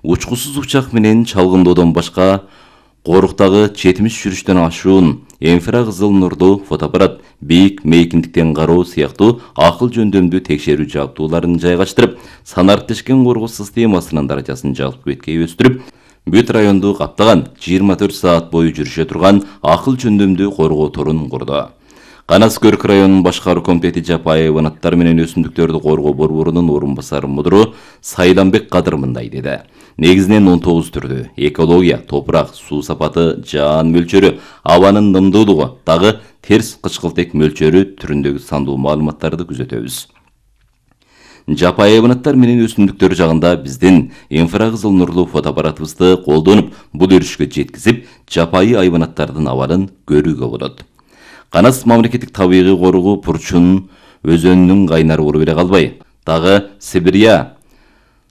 Учкусуз учак менен чалгындоодон башка Коруктагы 70 жүрүштөн ашуун инфракызыл нурдуу фотоаппарат, бийик мейкиндиктен кароо сыяктуу акыл жөндөмдүү текшерүү жабдууларын жайгаштырып, санариптешкен коргоо системасынын даражасын жалпы беткей өстүрүп, бүт районду каптаган 24 саат бою жүрүшө турган акыл жөндөмдүү коргоо торун курду. Канас Көрк районунун башкаруу комитети жапайы айванаттар менен өсүмдүктөрдү коргоо борборунун орун басары мудуру Сайданбек Кадыр мындай деди. Негизинен 19 түрдүү экология, топурак, суу сапаты, жаан мөлчөрү, абанын нымдуулугу, дагы терс кычкылтек мөлчөрү түрүндөгү сандуу маалыматтарды күзөтөбүз. Жапайы айванаттар менен өсүмдүктөр жагында биздин инфракызыл нурлуу фотоаппаратыбызды колдонуп, бул өрүшкө жеткизип, жапайы айванаттардын абалын көрүүгө болот. Канас мамлекеттик табигый коргоо Пурчун өзөнүнүн кайнар уру эле калбай, дагы Сибирия,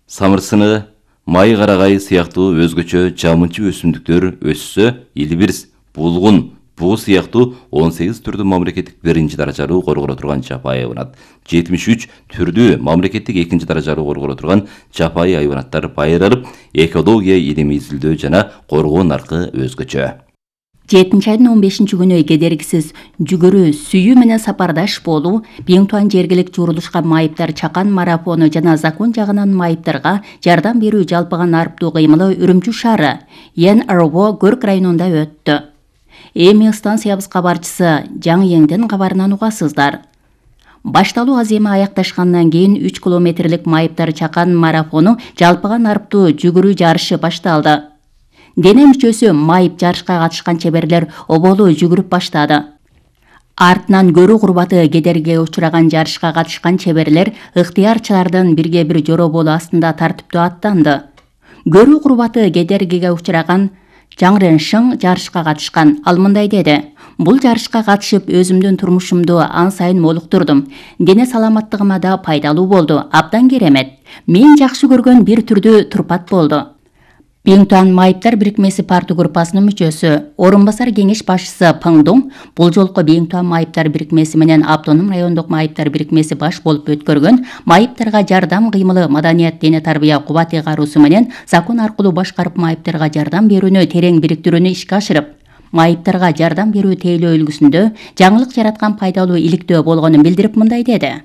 самырсыны, май карагай сыяктуу өзгөчө жамынчы өсүмдүктөр өссө, илбирс, булгун, буу сыяктуу 18 түрдүү мамлекеттик 1-чи даражалуу корголо турган жапайы айванат, 73 түрдүү мамлекеттик 2-чи даражалуу корголо турган жапайы айванаттар байыралып, экология илими изилдөө жана коргоо наркы өзгөчө. 7-айдын 15-күнү кедергисиз жүгүрүү, сүйүү менен сапардаш болуу, Биңтуан жергилик журулушка майыптар чакан марафону жана закон жагынан майыптарга жардам берүү жалпыга нарыптуу кыймылы Үрүмчү шаары ЕНРО Көрк районунда өттү. Эми станциябыз кабарчысы Жаңы Еңден кабарынан угасыздар. Башталуу аземи аякташкандан кийин 3 километрлик майыптар чакан марафону жалпыга нарыптуу жүгүрүү жарышы башталды. Дене мүчөсү майып жарышка катышкан чеберлер оболу жүгүрүп баштады. Артынан көрүү курбаты кедергиге учураган жарышка катышкан чеберлер ыктыярчылардын бирге бир жороболу астында тартиптүү аттанды. Көрүү курбаты кедергиге учураган Жаңрен Шың жарышка катышкан. Ал мындай деди: "Бул жарышка катышып өзүмдүн турмушумду ан сайын молуктурдум. Дене саламаттыгыма да пайдалуу болду. Абдан керемет. Мен жакшы көргөн бир түрдүү турпат болду." Биңтуан майыптар бирикмеси партия группасынын мүчөсү, орун басар кеңеш башчысы Пыңдуң бул жолку Биңтуан майыптар бирикмеси менен автоном райондук майыптар бирикмеси баш болуп өткөргөн майыптарга жардам кыймылы маданият дене тарбия кубат ыйгаруусу менен закон аркылуу башкарып майыптарга жардам берүүнү терең бириктирүүнү ишке ашырып, майыптарга жардам берүү тейлөө үлгүсүндө жаңылык жараткан пайдалуу иликтөө болгонун билдирип мындай деди: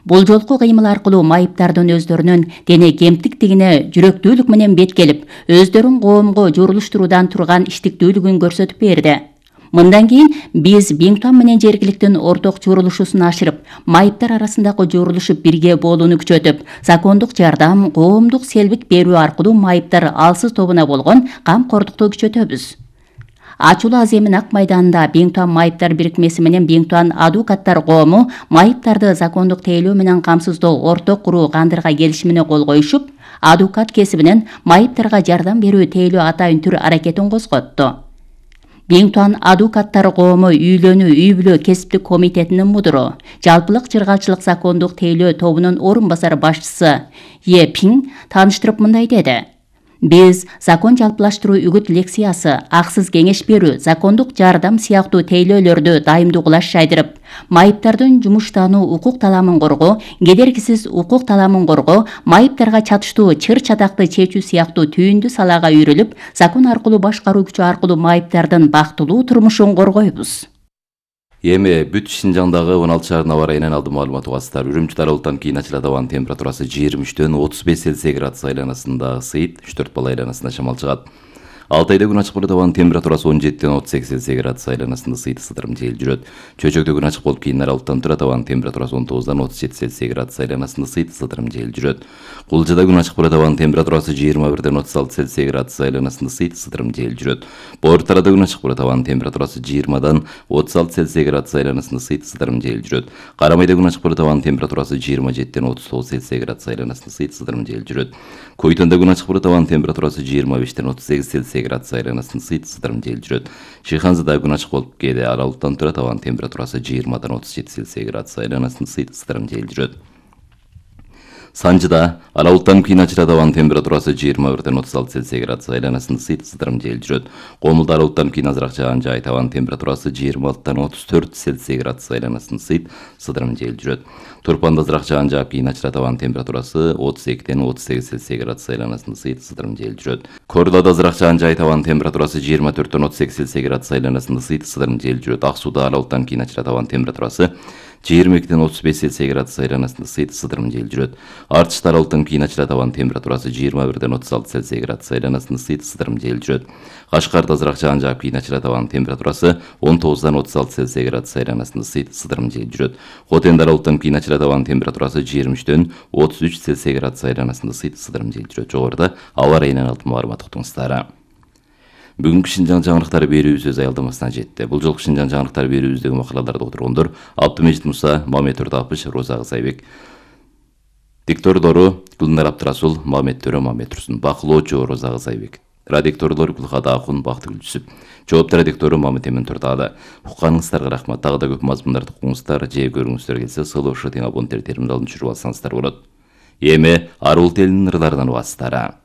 "Бул жолку кыймыл аркылуу майыптардын өздөрүнүн дене кемтиктигине жүрөктүүлүк менен беткелип, өздөрүн коомго журулуштуруудан турган иштиктүүлүгүн көрсөтүп берди. Мындан кийин биз Биңтуан менен жергиликтин орток журулушусун ашырып, майыптар арасындагы журулушуп бирге болууну күчөтүп, закондук жардам, коомдук селбик берүү аркылуу майыптар алсыз тобуна болгон камкордукту күчөтөбүз." Ачуулуу аземин Ак майданында Биңтуан майыптар бирикмеси менен Биңтуан адвокаттар коому майыптарды закондук тейлөө менен камсыздоо орток куруу кандырга келишимине кол коюшуп, адвокат кесибинен майыптарга жардам берүү тейлөө атайын түр аракетин козготту. Биңтуан адвокаттар коому үйлөнүү үй бүлө кесиптик комитетинин мудуру, жалпылык чыргалчылык закондук тейлөө тобунун орун басар башчысы Е Пиң тааныштырып мындай деди: "Биз закон жалпылаштыруу үгүт лекциясы, аксыз кеңеш берүү, закондук жардам сыяктуу тейлөөлөрдү дайымдуу кылаш жайдырып, майыптардын жумуштануу укук таламын коргоо, кедергисиз укук таламын коргоо, майыптарга чатыштуу чыр-чатакты чечүү сыяктуу түйүндүү салаага үйрүлүп, закон аркылуу башкаруу күчү аркылуу майыптардын бактылуу турмушун коргойбуз." Эми бүт Шинжаңдагы 16 шаардын аба ырайынан алдын маалымат угасыздар. Үрүмчү дарылыктан кийин ачылат. Абанын температурасы 23-төн 35 Цельсий градус айланасында ысыйт, 3-4 балл айланасында шамал чыгат. Алтайда күн ачык болот. Абанын температурасы 17-тен 38 Цельсий градус айланасында ысыйт, ысытырым жел жүрөт. Чөйчөктө күн ачык болуп кийин аралыктан турат. Абанын температурасы 19-дан 37 Цельсий градус айланасында ысыйт, ысытырым жел жүрөт. Кулжада күн ачык болот. Абанын температурасы 21-ден 36 Цельсий градус айланасында ысыйт, ысытырым жел жүрөт. Боортарада күн ачык болот. Абанын температурасы 20-дан 36 Цельсий градус айланасында ысыйт, ысытырым жел жүрөт. Карамайда күн ачык болот. Абанын температурасы 27-ден 39 Цельсий градус айланасында ысыйт, ысытырым жел жүрөт. Койтонда күн ачык болот. Абанын температурасы 25-ден 38 Цельсий градус айланасында ысыйт, ысытырым жел жүрөт. Шыйханзада күн ачык болуп кээде аралыктан турат. Абанын температурасы 20-дан 37 Цельсий градус айланасында ысыйт, ысытырым жел жүрөт. Санжыда ала булуттанып кийин ачылат, абанын температурасы 21-36 Цельсий градус айланасында сыйдым жел жүрөт. Комулда ала булуттанып кийин азыраак жаан жаайт, абанын температурасы 26-34 Цельсий градус айланасында сыйдым жел жүрөт. Турпанда азыраак жаан жаап кийин ачылат, абанын температурасы 32-38 Цельсий градус айланасында сыйдым жел жүрөт. Кордоодо азыраак жаан жаайт, абанын температурасы 24-38 Цельсий градус айланасында сыйдым жел жүрөт. Ак сууда ала булуттанып кийин ачылат, абанын температурасы 22-35 Цельсий градус айланасында сыйдым жел жүрөт. Артышта ала булуттанып кийин ачылат, абанын температурасы 21-36 Цельсий градус айланасында сыйдым жел жүрөт. Кашкарда азыраак жаан жаап кийин ачылат, абанын температурасы 19-36 Цельсий градус айланасында сыйдым жел жүрөт. Хотенде ала булуттанып кийин ачылат, абанын температурасы 23-33 Цельсий градус айланасында сыйдым жел жүрөт. Жогоруда аба ырайынан алтын маалымат уктуңуздар. Бүгүнкү Шинжаң жаңылыктары берүүбүз өз аялдамасына жетти. Бул жолку Шинжаң жаңылыктары берүүбүздөгү макалаларды отургондор Абдымежит Муса, Мамет Төрдапыш, Роза Кызайбек. Диктордору Гүлнар Абдрасул, Мамет Төрө, Мамет Турсун. Бакылоочу Роза Кызайбек. Радикторлор Гүлхада Акун, Бактыгүл Жүсүп. Жооптор радиктору Мамет Эмин Төрдагы. Укканыңыздарга рахмат. Дагы да көп мазмундарды укуңуздар, же көрүңүздөр келсе, сылоошо тең абоненттер терминалын түшүрүп алсаңыздар болот. Эми арул телинин ырларынан убасыздар.